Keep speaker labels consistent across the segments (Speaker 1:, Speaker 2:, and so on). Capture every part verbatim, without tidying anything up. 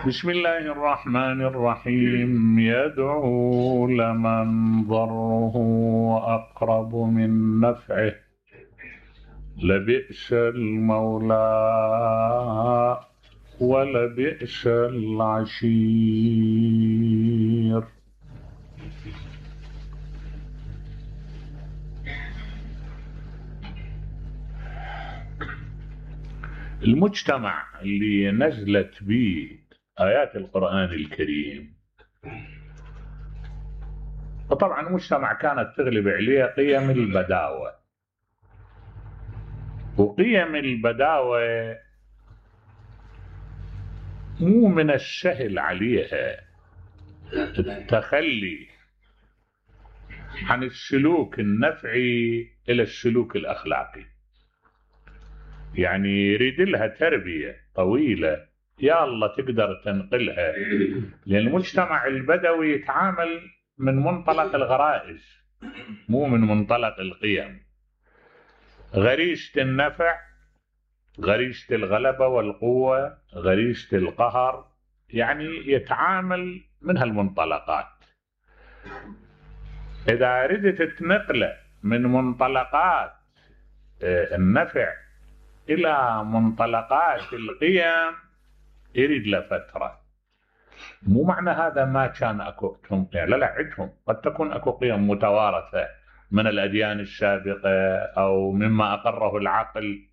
Speaker 1: بسم الله الرحمن الرحيم. يدعو لمن ضره أقرب من نفعه لبئس المولى ولبئس العشير. المجتمع اللي نزلت به آيات القرآن الكريم، وطبعا مجتمع كانت تغلب عليه قيم البداوة، وقيم البداوة مو من السهل عليها التخلي عن السلوك النفعي إلى السلوك الأخلاقي. يعني يريد لها تربية طويلة يا الله تقدر تنقلها، لأن المجتمع البدوي يتعامل من منطلق الغرائز مو من منطلق القيم. غريزة النفع، غريزة الغلبة والقوة، غريزة القهر، يعني يتعامل من هالمنطلقات. إذا أردت تنقله من منطلقات النفع إلى منطلقات القيم يريد له فترة. مو معنى هذا ما كان أكو قيم، لا لا، عندهم قد تكون أكو قيم متوارثة من الأديان السابقة أو مما أقره العقل،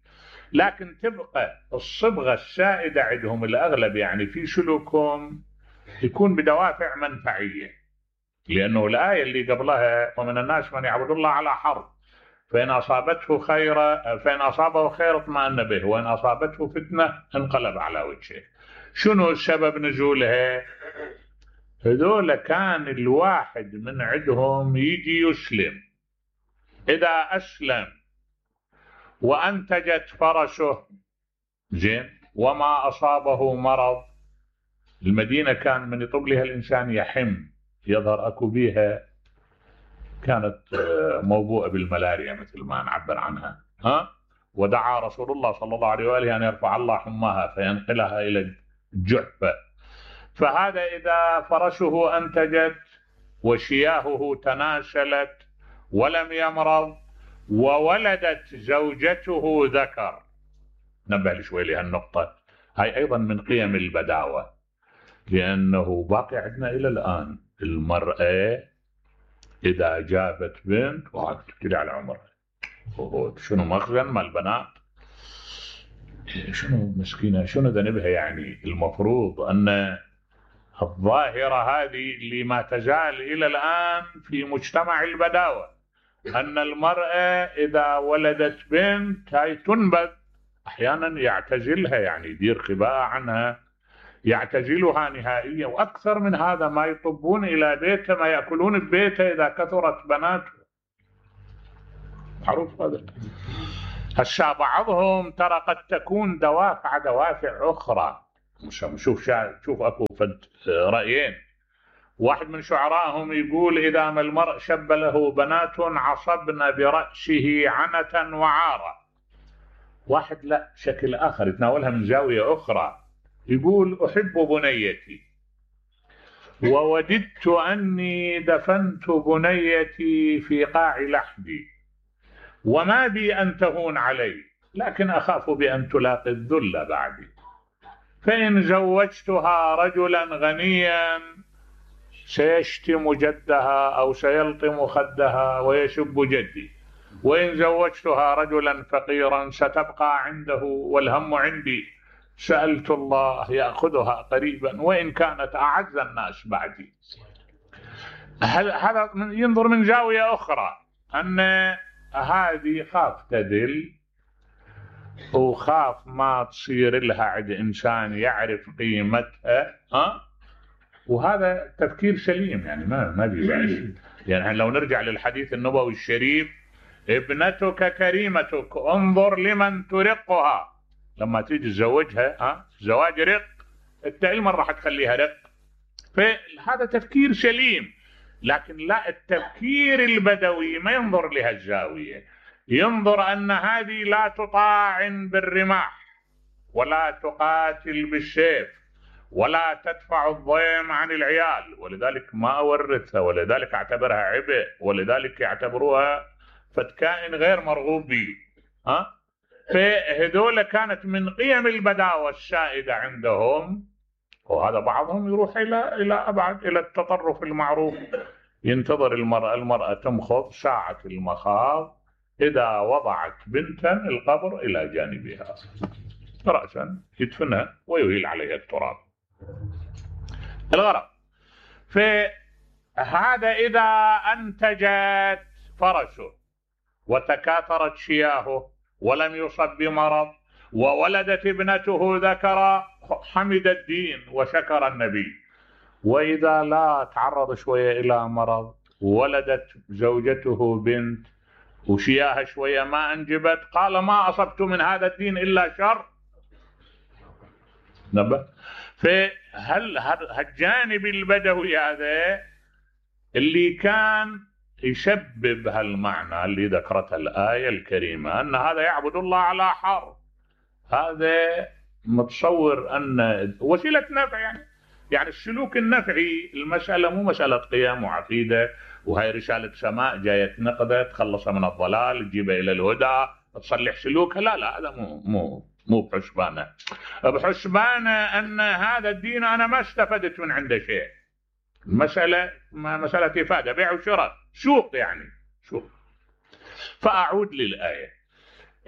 Speaker 1: لكن تبقى الصبغة السائدة عندهم الأغلب يعني في سلوكهم يكون بدوافع منفعية. لأنه الآية اللي قبلها ومن الناس من يعبد الله على حرف فإن أصابته خير فإن أصابه خير اطمأن به وإن أصابته فتنة انقلب على وجهه. شنو سبب نزولها؟ هذول كان الواحد من عندهم يجي يسلم، إذا أسلم وأنتجت فرسه زين وما أصابه مرض، المدينة كان من يطب لها الإنسان يحم، يظهر أكو بيها كانت موبوءة بالملاريا مثل ما نعبر عنها، ها؟ ودعا رسول الله صلى الله عليه وآله أن يرفع الله حماها فينقلها إلى الجحفة. فهذا إذا فرسه أنتجت وشياهه تناسلت ولم يمرض وولدت زوجته ذكر. نبه شوي لهالنقطة، هاي أيضا من قيم البداوة، لأنه باقي عندنا إلى الآن المرأة إذا جابت بنت وتبتدي على عمرها، شنو مخزن مال البنات، شنو مسكينة، شنو ذنبها. يعني المفروض أن الظاهرة هذه اللي ما تزال إلى الآن في مجتمع البداوة، أن المرأة إذا ولدت بنت هاي تنبذ، أحيانا يعتزلها، يعني يدير خباء عنها، يعتزلها نهائيا. وأكثر من هذا ما يطبون إلى بيته، ما يأكلون ببيته إذا كثرت بناته، معروف هذا. هسا بعضهم ترى قد تكون دوافع دوافع أخرى. شوف شوف أكو فد رأيين، واحد من شعرائهم يقول إذا ما المرء شب له بنات عصبن برأسه عنة وعارة. واحد لا، شكل آخر يتناولها من زاوية أخرى، يقول أحب بنيتي ووددت أني دفنت بنيتي في قاع لحدي وما بي أن تهون علي، لكن أخاف بأن تلاقي الذل بعدي، فإن زوجتها رجلا غنيا سيشتم جدها أو سيلطم خدها ويسب جدي، وإن زوجتها رجلا فقيرا ستبقى عنده والهم عندي، سألت الله يأخذها قريبا وإن كانت أعز الناس بعدي. هذا ينظر من زاوية أخرى، أن هذه خاف تذل وخاف ما تصير لها عند إنسان يعرف قيمتها، ها؟ وهذا تفكير سليم، يعني ما ما بيبعش. يعني لو نرجع للحديث النبوي الشريف، ابنتك كريمتك انظر لمن ترقها. لما تيجي تزوجها، ها، زواج رق، انت من راح تخليها رق؟ فهذا تفكير سليم. لكن لا، التفكير البدوي ما ينظر لهالزاوية، ينظر أن هذه لا تطاعن بالرماح ولا تقاتل بالسيف ولا تدفع الضيم عن العيال، ولذلك ما أورثها، ولذلك أعتبرها عبء، ولذلك يعتبروها فتكائن غير مرغوب به. ها فهذول كانت من قيم البداوة السائدة عندهم. وهذا بعضهم يروح إلى إلى أبعد، إلى التطرف المعروف. ينتظر المرأة المرأة تمخض ساعة المخاض، إذا وضعت بنتا القبر إلى جانبها رأسا يدفنها ويهيل عليها التراب. الغرض فهذا إذا أنتجت فرسه وتكاثرت شياهه ولم يصب بمرض وولدت ابنته ذكرا حمد الدين وشكر النبي. وإذا لا تعرض شوية إلى مرض ولدت زوجته بنت وشياها شوية ما أنجبت، قال ما أصبت من هذا الدين إلا شر. نبه فهل هالجانب البدوي هذا اللي كان يسبب هالمعنى اللي ذكرته الآية الكريمة أن هذا يعبد الله على حرف، هذا متصور أن وسيلة نفع، يعني يعني السلوك النفعي. المسألة مو مسألة قيم وعقيدة وهي رسالة سماء جاية تنقذه تخلصها من الضلال تجيبه إلى الهدى تصلح سلوكها، لا لا هذا مو مو مو بحسبانه. بحسبانه أن هذا الدين أنا ما استفدت من عنده شيء. المسألة مسألة إفادة، بيع وشراء، سوق يعني سوق. فأعود للآية.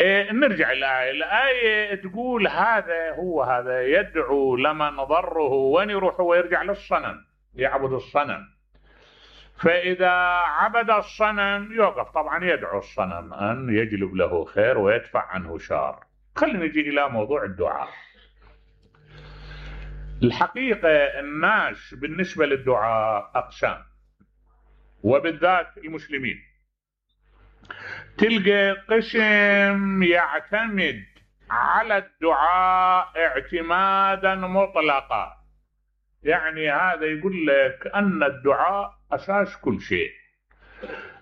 Speaker 1: إيه نرجع الآية. الآية تقول هذا هو هذا يدعو لمن ضره، وين يروح؟ هو يرجع للصنم، يعبد الصنم. فإذا عبد الصنم يوقف طبعا يدعو الصنم أن يجلب له خير ويدفع عنه شر. خلينا نجي إلى موضوع الدعاء. الحقيقة الناس بالنسبة للدعاء أقسام، وبالذات المسلمين. تلقى قسم يعتمد على الدعاء اعتمادا مطلقا، يعني هذا يقول لك أن الدعاء أساس كل شيء.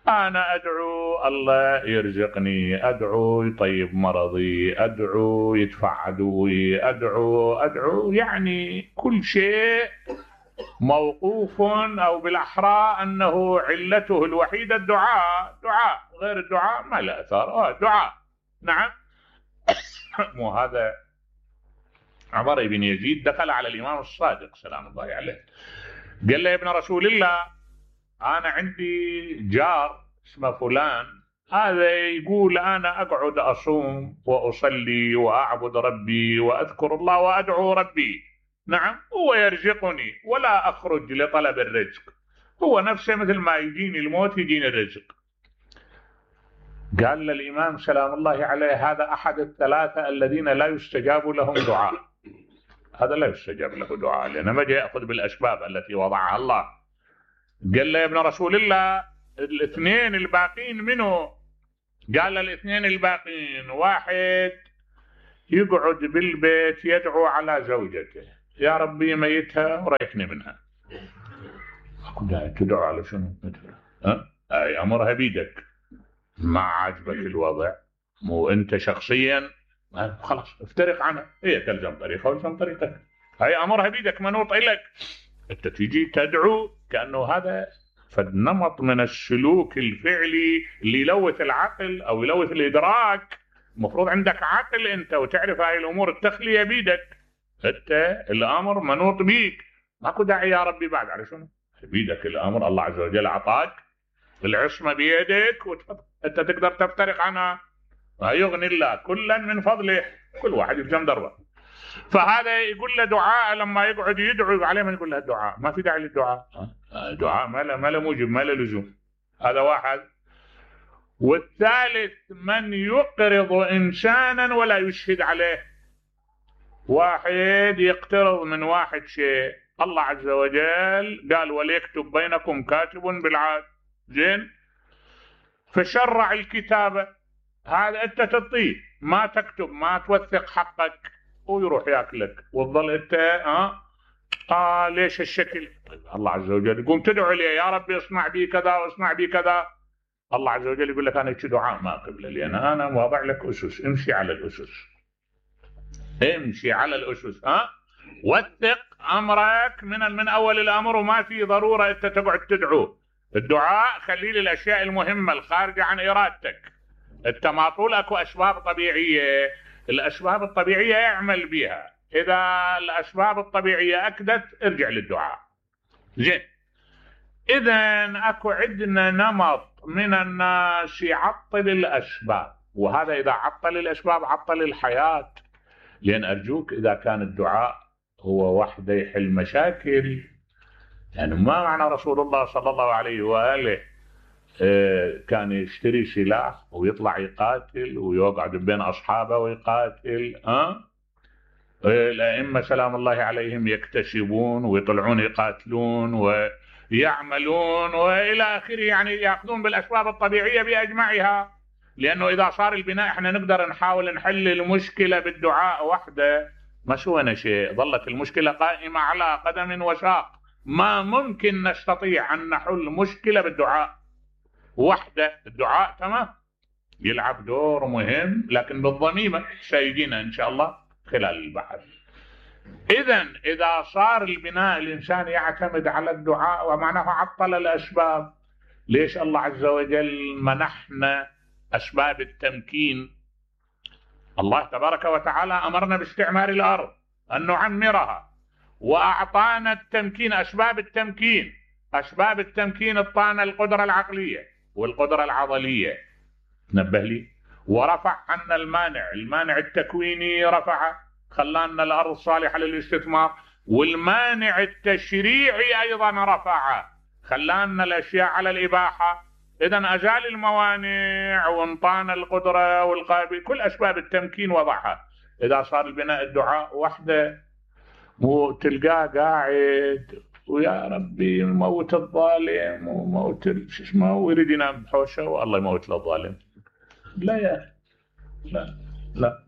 Speaker 1: أنا أدعو الله يرزقني، أدعو يطيب مرضي، أدعو يدفع عدوي، أدعو أدعو يعني كل شيء موقوف، أو بالأحرى أنه علته الوحيدة الدعاء. دعاء غير الدعاء ما له أثار. آه دعاء نعم. مو هذا عمر بن يزيد دخل على الإمام الصادق سلام الله عليه، قال له يا ابن رسول الله أنا عندي جار اسمه فلان، هذا يقول أنا أقعد أصوم وأصلي وأعبد ربي وأذكر الله وأدعو ربي، نعم هو يرزقني ولا أخرج لطلب الرزق، هو نفسه مثل ما يجيني الموت يجيني الرزق. قال للإمام سلام الله عليه هذا أحد الثلاثة الذين لا يستجاب لهم دعاء، هذا لا يستجاب له دعاء لأنه ما جاء يأخذ بالأسباب التي وضعها الله. قال له يا ابن رسول الله الاثنين الباقين منه؟ قال الاثنين الباقين واحد يقعد بالبيت يدعو على زوجته يا ربي ميتها وريحني منها. تدعو على شنو؟ ها؟ أي أمرها بيدك، ما عاجبك الوضع مو أنت شخصيا خلاص افترق عنها، هي تلزم طريقها ولزم طريقك، هي أمرها بيدك منوط إليك. أنت تيجي تدعو كأنه هذا فالنمط من السلوك الفعلي اللي يلوث العقل أو يلوث الإدراك. المفروض عندك عقل أنت وتعرف هاي الأمور التخلية بيدك، أنت الأمر منوط بيك، ماكو داعي يا ربي بعد على شنو؟ بيدك الأمر، الله عز وجل أعطاك العصمة بيدك وتفضل أنت تقدر تفترق عنها، يغني الله كلا من فضله، كل واحد يلزم دربه. فهذا يقول له دعاء لما يقعد يدعو عليه من يقول له الدعاء ما في داعي للدعاء، الدعاء ما له ما له موجب ما له لزوم. هذا واحد. والثالث من يقرض إنسانا ولا يشهد عليه، واحد يقترض من واحد شيء، الله عز وجل قال وليكتب بينكم كاتب بالعدل، زين، فشرع الكتابة، هذا أنت تعطيه ما تكتب ما توثق حقك ويروح ياكلك وتظل أنت ها آه ليش الشكل؟ طيب الله عز وجل يقوم تدعو لي يا ربي اصنع بي كذا واصنع بي كذا، الله عز وجل يقول لك أنا دعاء ما قبل لي، أنا أنا واضع لك أسس، امشي على الأسس، امشي على الأسس، ها وثق امرك من من اول الامر، وما في ضروره انت تقعد تدعو. الدعاء خليه للاشياء المهمه الخارجه عن ارادتك. انت ما طول اكو اسباب طبيعيه، الاسباب الطبيعيه اعمل بها، اذا الاسباب الطبيعيه اكدت ارجع للدعاء. زين، اذا اكو عندنا نمط من الناس يعطل الاسباب، وهذا اذا عطل الاسباب عطل الحياه. لان ارجوك اذا كان الدعاء هو وحده يحل مشاكل، يعني ما معنى رسول الله صلى الله عليه واله كان يشتري سلاح ويطلع يقاتل ويقعد بين اصحابه ويقاتل؟ ها أه؟ الائمه سلام الله عليهم يكتسبون ويطلعون يقاتلون ويعملون والى اخره، يعني ياخذون بالاسباب الطبيعيه باجمعها. لانه اذا صار البناء احنا نقدر نحاول نحل المشكله بالدعاء وحده، ما سوينا شيء، ظلت المشكله قائمه على قدم وساق. ما ممكن نستطيع ان نحل مشكله بالدعاء وحده. الدعاء تمام يلعب دور مهم، لكن بالضميمه سيجينا ان شاء الله خلال البحث. اذا اذا صار البناء الانسان يعتمد على الدعاء ومعناه عطل الاسباب. ليش الله عز وجل منحنا اسباب التمكين؟ الله تبارك وتعالى امرنا باستعمار الارض ان نعمرها، واعطانا التمكين، اسباب التمكين. اسباب التمكين اعطانا القدره العقليه والقدره العضليه، نبه لي، ورفع عنا المانع، المانع التكويني رفعه خلانا الارض صالحه للاستثمار، والمانع التشريعي ايضا رفعه خلانا الاشياء على الاباحه. اذا ازال الموانع وانطانا القدره والقابل، كل اسباب التمكين وضعها. اذا صار البناء الدعاء وحده، مو تلقاه قاعد ويا ربي موت الظالم وموت شو اسمه ويريد ينام بحوشه والله يموت له الظالم. لا يا لا لا.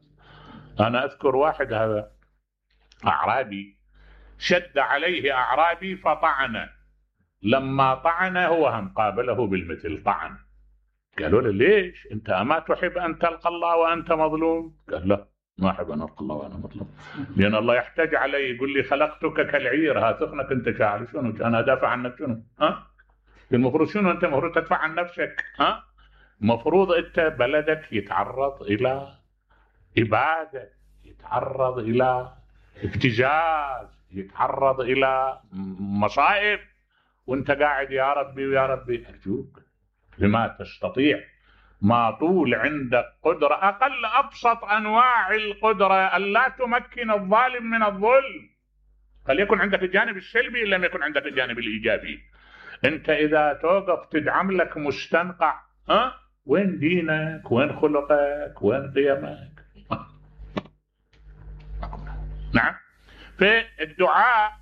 Speaker 1: انا اذكر واحد هذا اعرابي شد عليه اعرابي فطعنه، لما طعنه هو هم قابله بالمثل طعن. قالوا له ليش انت اما تحب ان تلقى الله وانت مظلوم؟ قال لا، ما احب ان القى الله وانا مظلوم، لان الله يحتاج علي يقول لي خلقتك كالعير، ها ثقنك انت شاعر، شنو انا ادافع عنك؟ شنو ها المفروض شنو انت المفروض تدفع عن نفسك؟ ها مفروض انت بلدك يتعرض الى اباده، يتعرض الى ابتزاز، يتعرض الى مصائب، وانت قاعد يا ربي ويا ربي. ارجوك بما تستطيع، ما طول عندك قدرة، أقل أبسط أنواع القدرة ألا تمكن الظالم من الظلم. فليكن عندك الجانب السلبي إن لم يكن عندك الجانب الإيجابي. أنت إذا توقف تدعم لك مستنقع، ها وين دينك؟ وين خلقك؟ وين قيمك؟ نعم. في الدعاء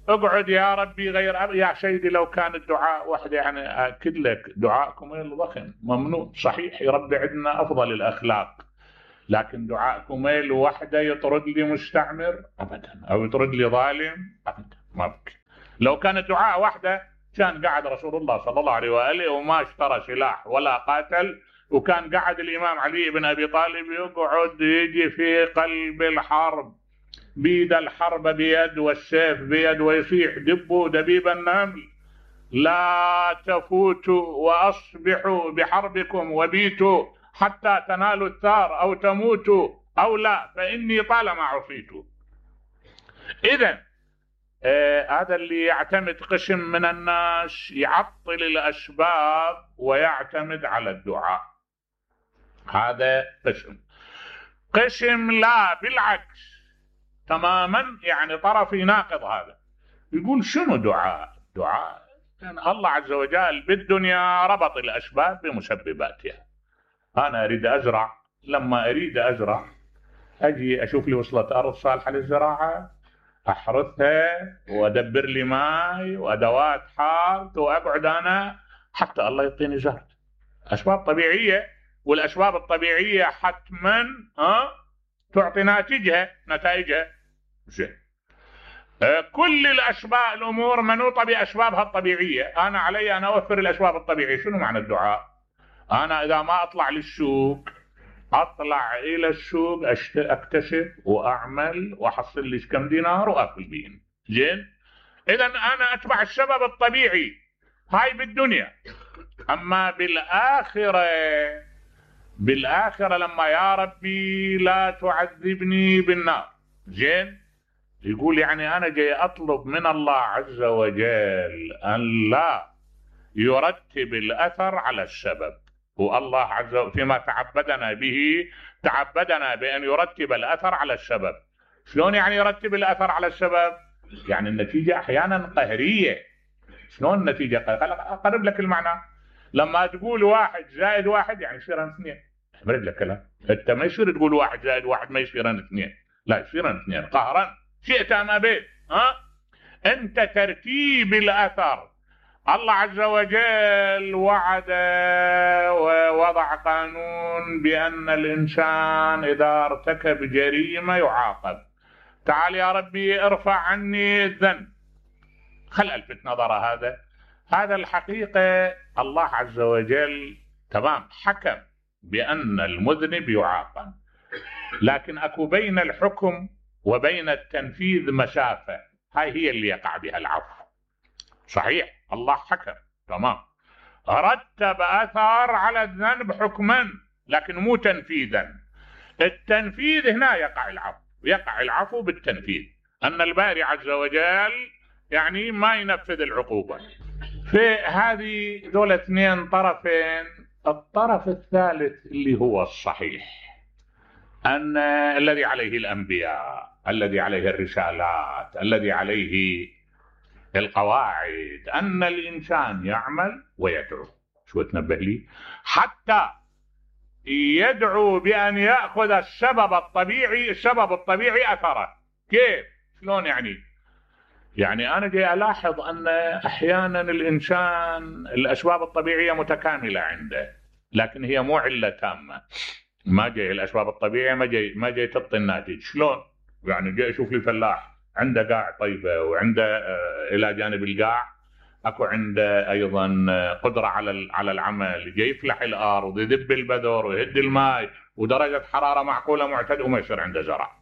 Speaker 1: اقعد يا ربي غير أب... يا سيدي لو كان الدعاء وحده، يعني اكد لك دعاءكم الضخم ممنوع صحيح، يربي عندنا افضل الاخلاق، لكن دعاءكم وحده يطرد لي مستعمر ابدا، او يطرد لي ظالم ابدا، ما بك. لو كان الدعاء وحده كان قعد رسول الله صلى الله عليه واله وما اشترى سلاح ولا قاتل، وكان قعد الامام علي بن ابي طالب يقعد يجي في قلب الحرب، بيد الحرب بيد والسيف بيد، ويصيح دبوا دبيب النمل لا تفوتوا واصبحوا بحربكم وبيتوا حتى تنالوا الثار او تموتوا او لا فاني طالما عصيت. اذا آه هذا اللي يعتمد قسم من الناس يعطل الاسباب ويعتمد على الدعاء، هذا قسم. قسم لا بالعكس تماما، يعني طرف يناقض هذا، يقول شنو دعاء؟ دعاء يعني الله عز وجل بالدنيا ربط الأسباب بمسبباتها. أنا أريد أزرع، لما أريد أزرع أجي أشوف لي وصلة أرض صالحة للزراعة، أحرثها وأدبر لي ماء وأدوات حارث وأقعد أنا حتى الله يعطيني زرع. أسباب طبيعية، والأسباب الطبيعية حتما أه تعطي ناتجها نتائجها. زين. كل الأسباب الأمور منوطة بأسبابها الطبيعية، أنا علي أن أوفر الأسباب الطبيعية. شنو معنى الدعاء؟ أنا إذا ما أطلع للسوق اطلع الى السوق اكتشف واعمل واحصل لي كم دينار واكل بيهم. زين، اذا انا اتبع السبب الطبيعي هاي بالدنيا. اما بالاخره، بالاخره لما يا ربي لا تعذبني بالنار. زين، يقول يعني انا جاي اطلب من الله عز وجل ان لا يرتب الاثر على السبب. والله عز وجل فيما تعبدنا به تعبدنا بان يرتب الاثر على السبب. شلون يعني يرتب الاثر على السبب؟ يعني النتيجه احيانا قهريه. شلون النتيجه قهريه؟ اقرب لك المعنى. لما تقول واحد زائد واحد يعني يصير اثنين. اقرب لك كلام. انت ما يصير تقول واحد زائد واحد ما يصير اثنين، لا يصير اثنين قهرا شئت ام ابيت. ها، انت ترتيب الاثر. الله عز وجل وعد ووضع قانون بأن الإنسان إذا ارتكب جريمة يعاقب. تعال يا ربي ارفع عني الذنب، خل ألفت نظر هذا. هذا الحقيقة الله عز وجل تمام حكم بأن المذنب يعاقب، لكن أكو بين الحكم وبين التنفيذ مسافة، هاي هي اللي يقع بها العفو. صحيح الله حكم تمام، رتب اثار على الذنب حكما لكن مو تنفيذا. التنفيذ هنا يقع العفو، يقع العفو بالتنفيذ، ان الباري عز وجل يعني ما ينفذ العقوبه. في هذه دول اثنين طرفين. الطرف الثالث اللي هو الصحيح، ان الذي عليه الانبياء، الذي عليه الرسالات، الذي عليه القواعد، أن الإنسان يعمل ويدعو. شو تنبه لي؟ حتى يدعو بأن يأخذ السبب الطبيعي، السبب الطبيعي أثره. كيف؟ شلون يعني؟ يعني أنا جاي ألاحظ أن أحيانا الإنسان الأسباب الطبيعية متكاملة عنده، لكن هي مو علة تامة. ما جاي الأسباب الطبيعية ما جاي ما جاي تعطي الناتج. شلون؟ يعني جاي أشوف لي فلاح عنده قاع طيبة وعنده إلى جانب القاع أكو عنده أيضا قدرة على على العمل، جاي يفلح الأرض يذب البذر ويهد الماء ودرجة حرارة معقولة معتدلة وما يصير عنده زرع.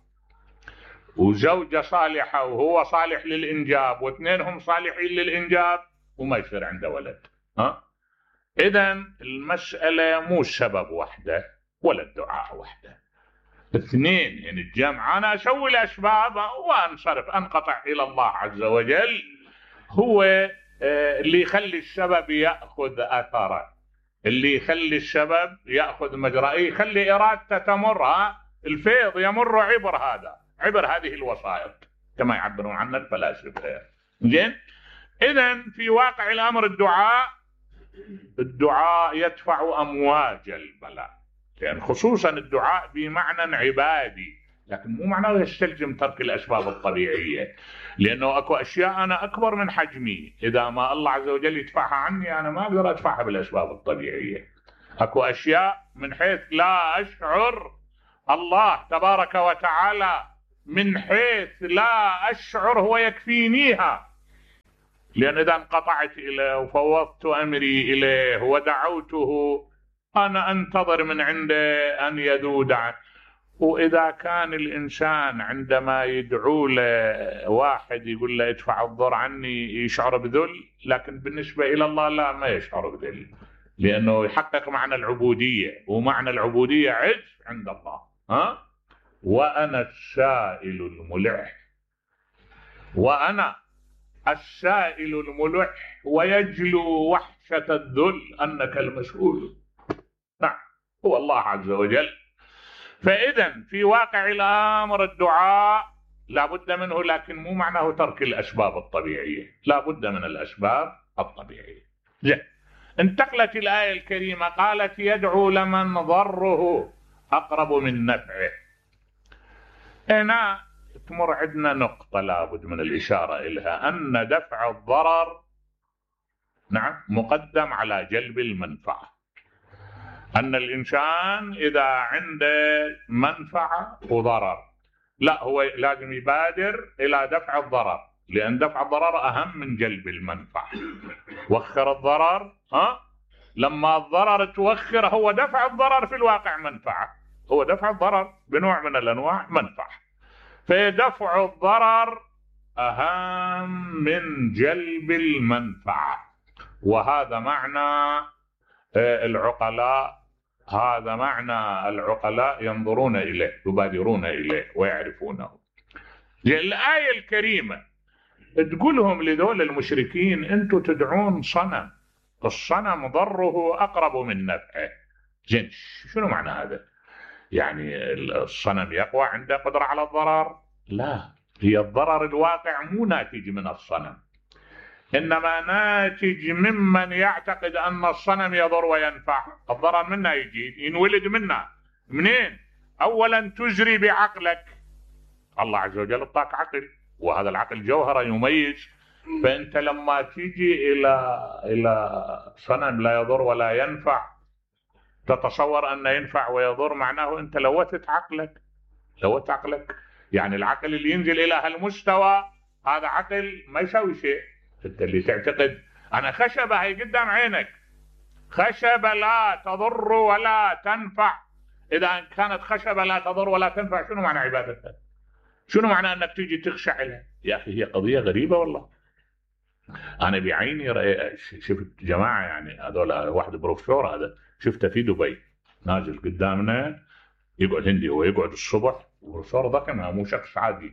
Speaker 1: وزوجة صالحة وهو صالح للإنجاب واثنينهم صالحين للإنجاب وما يصير عنده ولد. ها؟ إذا المسألة مو السبب وحده ولا الدعاء وحده، اثنين يعني الجمع. أنا أسوي الأسباب وأنصرف أنقطع إلى الله عز وجل، هو اللي يخلي السبب يأخذ أثره، اللي يخلي السبب يأخذ مجراه، يخلي إرادته تمر. الفيض يمر عبر هذا، عبر هذه الوسائط كما يعبرون عنها الفلاسفة. زين، إذا في واقع الأمر الدعاء الدعاء يدفع أمواج البلاء، يعني خصوصا الدعاء بمعنى عبادي، لكن مو معناه يستلزم ترك الأسباب الطبيعية، لأنه أكو أشياء أنا أكبر من حجمي، إذا ما الله عز وجل يدفعها عني أنا ما أقدر أدفعها بالأسباب الطبيعية. أكو أشياء من حيث لا أشعر الله تبارك وتعالى، من حيث لا أشعر هو يكفينيها، لأن إذا انقطعت إليه وفوضت أمري إليه ودعوته أنا أنتظر من عنده أن يذود عنه. وإذا كان الإنسان عندما يدعو له واحد يقول له ادفع الضر عني يشعر بذل، لكن بالنسبة إلى الله لا، ما يشعر بذل، لأنه يحقق معنى العبودية، ومعنى العبودية عز عند الله. ها؟ وأنا السائل الملح، وأنا السائل الملح ويجلو وحشة الذل أنك المسؤول. نعم، هو الله عز وجل. فإذا في واقع الأمر الدعاء لا بد منه، لكن مو معناه ترك الأسباب الطبيعية، لا بد من الأسباب الطبيعية. زين، انتقلت الآية الكريمة قالت يدعو لمن ضره أقرب من نفعه. هنا تمر عندنا نقطة لابد من الإشارة إليها، أن دفع الضرر نعم مقدم على جلب المنفعة. أن الإنسان إذا عنده منفعة وضرر لا، هو لازم يبادر إلى دفع الضرر، لأن دفع الضرر أهم من جلب المنفعة. وخر الضرر، ها؟ لما الضرر توخر، هو دفع الضرر في الواقع منفعة، هو دفع الضرر بنوع من الأنواع منفعة. فدفع الضرر أهم من جلب المنفعة، وهذا معنى العقلاء هذا معنى العقلاء ينظرون إليه، يبادرون إليه ويعرفونه. الآية الكريمة تقولهم لذول المشركين أنتم تدعون صنم، الصنم ضره أقرب من نفعه. زين شنو معنى هذا؟ يعني الصنم يقوى عنده قدرة على الضرر؟ لا، هي الضرر الواقع مو ناتج من الصنم، إنما ناتج ممن يعتقد أن الصنم يضر وينفع. الضرر منه يجي ينولد منه منين؟ أولا تجري بعقلك، الله عز وجل اعطاك عقل، وهذا العقل جوهرة يميز. فأنت لما تيجي إلى إلى صنم لا يضر ولا ينفع تتصور أنه ينفع ويضر، معناه أنت لوثت عقلك لوثت عقلك يعني العقل اللي ينزل إلى هالمستوى هذا عقل ما يسوي شيء. أنت اللي تعتقد أنا خشبة هي قدام عينك، خشبة لا تضر ولا تنفع، إذا كانت خشبة لا تضر ولا تنفع شنو معنى عبادتها؟ شنو معنى أنك تيجي تخشع لها؟ يا أخي هي قضية غريبة والله. أنا بعيني شفت جماعة يعني هذول، واحد بروفيسور هذا شفته في دبي نازل قدامنا يقعد هندي، هو يقعد الصبح، بروفيسور ضخم مو شخص عادي،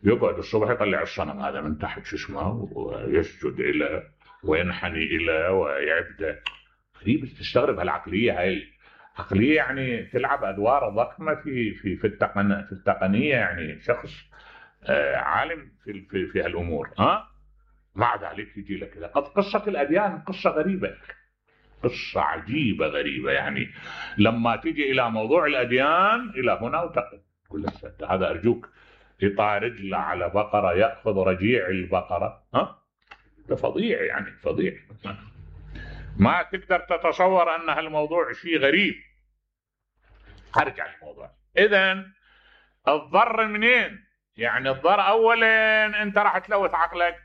Speaker 1: يقعد الصبح يطلع الصنم هذا من تحت شو اسمه ويسجد له وينحني إليه ويعبده. غريب، تستغرب هالعقلية هاي، عقلية يعني تلعب أدوار ضخمة في في في التقن في التقنية، يعني شخص آه عالم في في في هالأمور. ها مع ذلك يجي لك كذا. قد قصة الأديان قصة غريبة، قصة عجيبة غريبة. يعني لما تيجي إلى موضوع الأديان إلى هنا وتقف كل السنة هذا أرجوك يطع رجله على بقرة يأخذ رجيع البقرة، ها ده فظيع يعني فظيع، ما تقدر تتصور أن هالموضوع شيء غريب. أرجع للموضوع. إذن الضر منين؟ يعني الضر أولا أنت راح تلوث عقلك،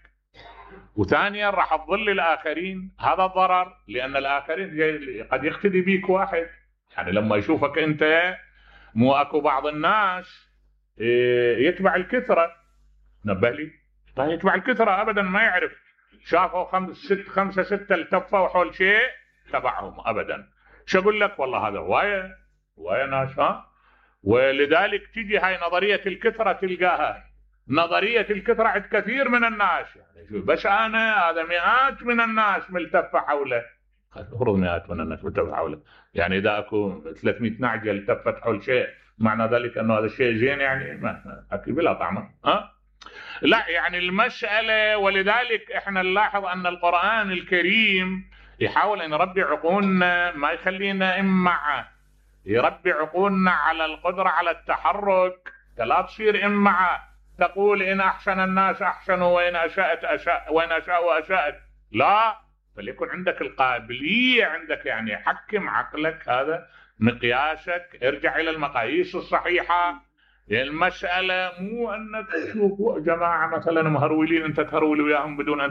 Speaker 1: وثانيا راح تضل الآخرين، هذا الضرر، لأن الآخرين قد يقتدي بيك واحد، يعني لما يشوفك أنت مو أكو بعض الناس يتبع الكثرة، نبه لي طيب يتبع الكثرة أبدا ما يعرف، شافوا خمس ست خمسة ستة التفوا حول شيء تبعهم أبدا. شو أقول لك والله هذا هواية هواية ناس. ها ولذلك تيجي هاي نظرية الكثرة تلقاها نظرية الكثرة عند كثير من الناس، يعني بس أنا هذا مئات من الناس ملتفة حوله، افرض مئات من الناس ملتفة حوله، يعني إذا أكو ثلاثمئة نعجة التفت حول شيء معنى ذلك أنه هذا الشيء زين، يعني ما أكيد بلا طعمه. ها لا يعني المسألة، ولذلك إحنا نلاحظ أن القرآن الكريم يحاول أن يربي عقولنا، ما يخلينا إمعة، يربي عقولنا على القدرة على التحرك، لا تصير إمعة تقول إن أحسن الناس أحسنوا وإن أساءت أساء وإن أساءوا أساءت، لا، فليكن عندك القابلية، عندك يعني حكم عقلك، هذا مقياسك، ارجع إلى المقاييس الصحيحة. المسألة مو أنك تشوف جماعة مثلا مهرولين أنت تهرول وياهم بدون أن